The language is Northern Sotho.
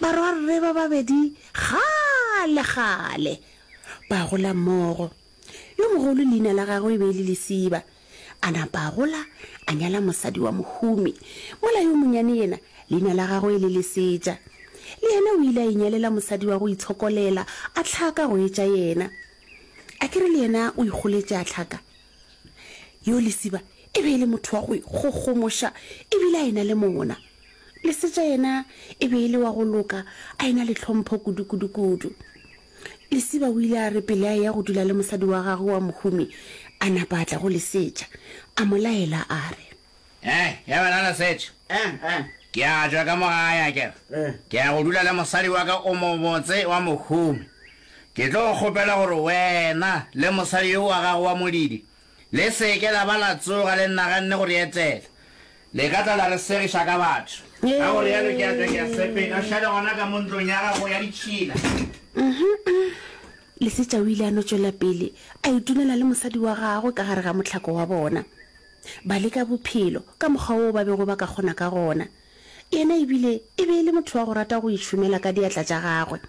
Barwarre ba babedi kgale-kgale ba gola mmogo. Yo mogolo leina la gagwe e be e le Lesiba. A napa a gola a nyala mosadi wa mohumi, mola yo monyane yena leina la gagwe e le Lesetša. Le yena o ile a inyalela mosadi wa go itshokolela a hlaka go etša yena. A ke re le yena o ikgoletše a hlaka? Yo Lesiba e be e le motho wa go ikgogomoša e bile a e-na le mona. Lesetša yena e be e le wa go loka, a e-na le tlhompho kudu-kudu-kudu. Lesiba o ile a re pele a eya go dula le mosadi wa gagwe wa mohumi, a napa a tla go Lesetša, a mo laela a re. Eh, ya wena Lesetša, ke a tšwa ka mo gae akere, ke ya go dula le mosadi wa ka o mobotse wa mohumi. Ke tlo kgopela gore wena le mosadi yo wa gago wa modidi le se ke la ba la tsoga le naganne go re etela. Le ka tla la re segiša ka batho. Ka go realo ke a tšwa ke a sepela. O šale gona ka mo ntlong ya gago ya ditšhila. Lesetša o ile a no tšwela pele a itunela le mosadi wa gagwe ka gare ga mohlako wa bona. Ba leka bophelo ka mokgwa woo ba bego ba ka kgona ka gona. Yena e bile e be e le motho wa go rata go itšhomela ka diatla tša gagwe.